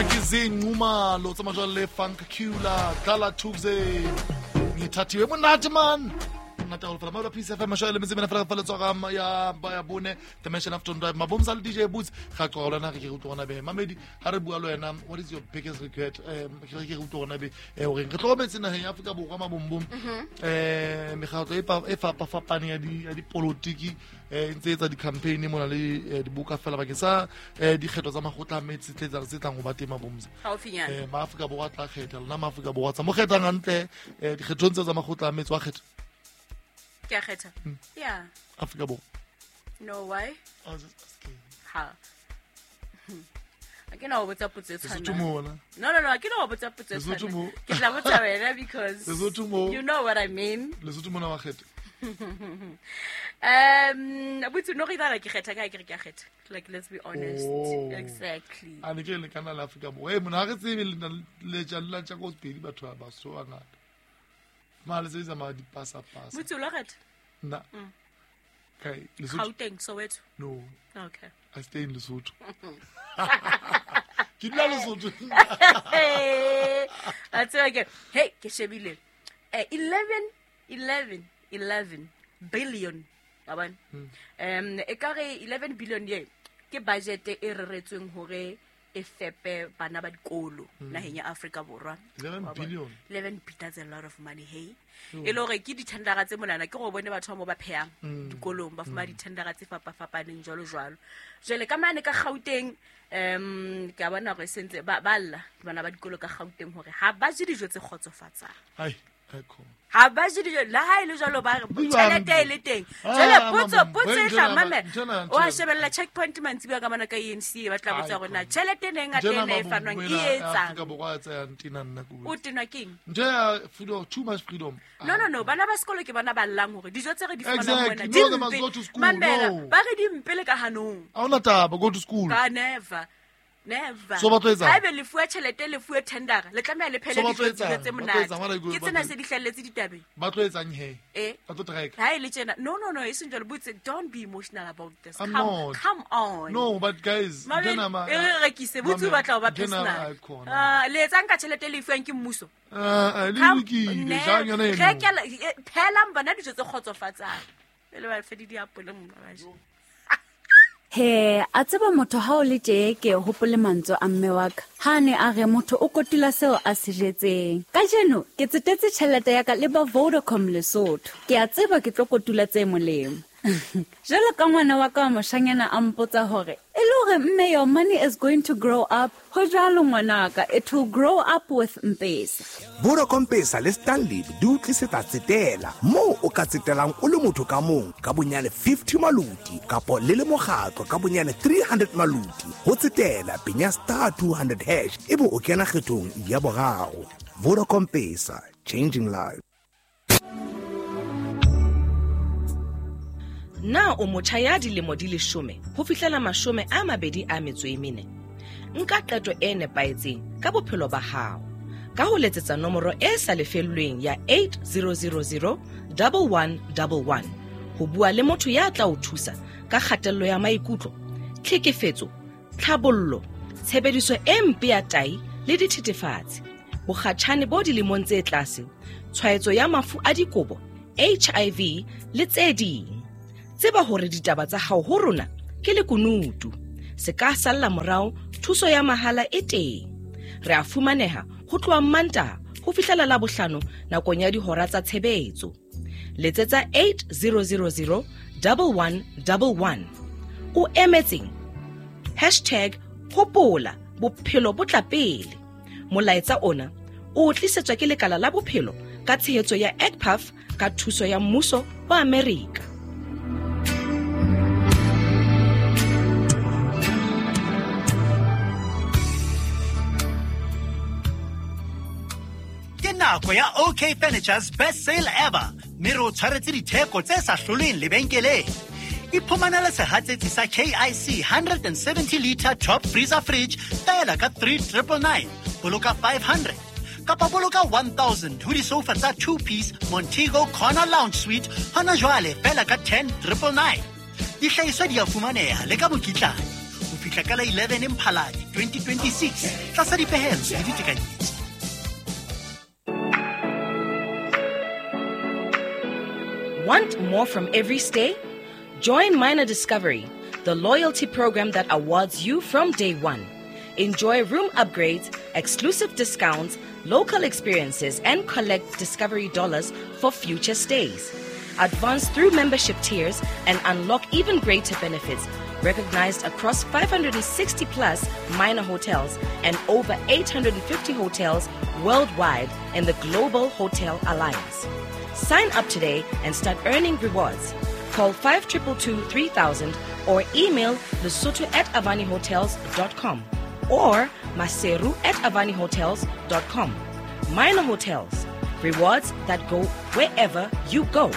Ona ke Zinqumalo tsa majwale le Funk Cula Dlala Tuesday. Ngithathiwe monate man. Monate haholo fela. Maola Peace FM mashwale le metse mena fela fa letswa ga ya ba ya bone Dimension Afternoon Drive. Mabomsa le DJ Boots ga tloga lona re ke re utlwa gona be. Mamedi ha re bua le wena, what is your biggest regret? Ke re ke re utlwa gona be hore re tlohometse naheng ya Afrika Borwa mabombom. Mekgatlo e fapafapaneng ya dipolotiki e ntse etsa di-campaign mona le dibuka fela bakeng sa dikgetho tsa makgotla a metse tse tlang ho ba teng mabomsa. MaAfrika Borwa a tla kgetha, lona MaAfrika Borwa tsa mo kgethang hantle dikgethong tseo tsa makgotla a metse wa kgetha. Ke a kgetha. Yeah. Afrika Borwa. No, why? I was just asking. Ha. A ke na ho botsa potso e Lesotho tshwanang. mona. No. A ke na ho botsa potso e Lesotho tshwanang. mo. Ke tla botsa wena because Lesotho mo. you know what I mean. Lesotho mona wa kgetha. Botse no re dala ke kgetha ka ke re ke a kgetha. Like, let's be honest. Oh. Exactly. A ne ke le kana la Afrika Borwa. Eh, mona ha re tsebe le na le tja le tja ko sepedi batho ba Basotho ba ngata. Ma le sebetsa ma di pasa pasa. Botse o la kgetha? Nna. Kai, Lesotho. Gauteng, Soweto. No. Okay. I stay in Lesotho. Ke dula Lesotho. Hey, that's okay. Hey, ke shebile. 11 billion. Wa bona? E ka re 11 billion ye ke budget e reretsweng hore e fepe bana ba dikolo naheng ya Afrika Borwa. 11 Wa bona? billion. 11 billion, that's a lot of money, hey. E le hore ke dithendara tse monana, ke go bone batho ba mo ba phehang dikolong, ba fumana dithendara tse fapafapaneng jwalo jwalo. Jwale ka mane ka Gauteng, ke a bona hore sentse ba lla bana ba dikolo ka Gauteng hore ha ba je dijo tse kgotsofatsang. Ai, ai khona. Ha ba je dijo, le ha e le jwalo ba re Di jwang? tjhelete e le teng. Ah, Jwale potso, mama, potso e ntho tla ena, mamela. ntho ena, ntho Wa ena. shebella checkpoint mantsibuya ka mona ka ANC, ba tla botsa Ai, hore na khona. tjhelete ena e ngata Ntho ena ena e mabombo fanwang e ena ya etsang? Afrika Borwa a tsayang tena nna ke O botse. tenwa keng? Ntho ya freedom, too much freedom. No, bana ba sekolo ke bona ba llang hore dijo tse re di fumanang Exactly. mona No, di they must mpe. go to school. Mamela, No. ba re di mpe le ka hanong. Ha hona taba, go to school. Ka never. Never. So ba tlo etsang? Haebe le fuwe tjhelete, le fuwe tendera, le tlameha le phele So ba tlo dijo tse etsang? tse Ba tlo monate. etsang? What are you going- Ke ba tsena tlo- se di hlahelletse ditabeng. Ba tlo etsang he? Eh? Ba tlo treka. Ha e le tjena. No, e seng jwalo. Botse, don't be emotional about this. I'm Come, not. come on. No, but guys, Mabedi, ntho ena ma- e re rekise. Botse o Mamela, batla ho ba ntho ena personal. ai khona. Ah, le etsang ka tjhelete e le e fuwang ke mmuso? Ah, ah, le Come- lokile, Ne- jang yona eno? rekela, phelang bana dijo tse kgotsofatsang. Pele ba fe di diapole mona ba je. He, a tseba motho ha o le tje ke hopole mantswe a mme wa ka. Ha a ne a re motho o kotula seo a se jetseng. Kajeno ke tsetetse tjhelete ya ka le ba Vodacom Lesotho. Ke a tseba ke tlo kotula tse molemo. Jwalo ka ngwana wa ka wa moshanyana a mpotsa hore, e le hore mme your money is going to grow up. Ho jwalo ngwanaka, it will grow up with M-Pesa. Vodacom Pesa le Stanley di o tlisetsa tsetela moo o ka tsetelang o le motho ka mong ka bonyane 50 maluti kapo le le mokgatlo ka bonyane 300 maluti. Ho tsetela penya star 200 hash ebe o kena kgethong ya boraro. Vodacom Pesa, changing lives. Na o motjha ya dilemo di 10 ho fihlela 24? Nka qeto e nepahetseng ka bophelo ba hao ka ho letsetsa nomoro e sa lefellweng ya 8000 1111 ho bua le motho ya tla o thusa ka kgatello ya maikutlo, tlhekefetso, tlhabollo, tshebediso e mpe ya tai le dithethefatsi, bokgatjhane bo dilemong tse tlase, tshwaetso ya mafu a dikobo, HIV le tse ding. Tseba hore ditaba tsa hao ho rona ke lekunutu. Se ka salla morao, thuso ya mahala e teng. Re a fumaneha ho tloha Mantaha ho fihlela Labohlano nakong ya dihora tsa tshebetso. Letsetsa 8000 1111. O emetseng? Hashtag hopola bophelo bo tla pele. Molaetsa ona o tlisetswa ke lekala la bophelo ka tshehetso ya ECPAF ka thuso ya mmuso wa Amerika. Ke nako ya OK Furniture's best sale ever, mme re o tshwaretse ditheko tse sa hloleng lebenkeleng. Iphumanele sehatsetsi sa KIC 170 liter top freezer fridge feela ka 3999, boloka 500 kapa boloka 1000 ho disofa tsa 2 piece Montego Corner Lounge Suite hona jwale feela ka 10999. Dihlahiswa di a fumaneha le ka mokitlane. Ho fihla ka la 11 Mphalane 2026 tlasa dipehelo le ditekanyetso. Want more from every stay? Join Minor Discovery, the loyalty program that awards you from day one. Enjoy room upgrades, exclusive discounts, local experiences, and collect Discovery dollars for future stays. Advance through membership tiers and unlock even greater benefits, recognized across 560 plus minor hotels and over 850 hotels worldwide in the Global Hotel Alliance. Sign up today and start earning rewards. Call 5222 3000 or email lesotho at avanihotels.com or maseru at avanihotels.com. Minor Hotels, rewards that go wherever you go.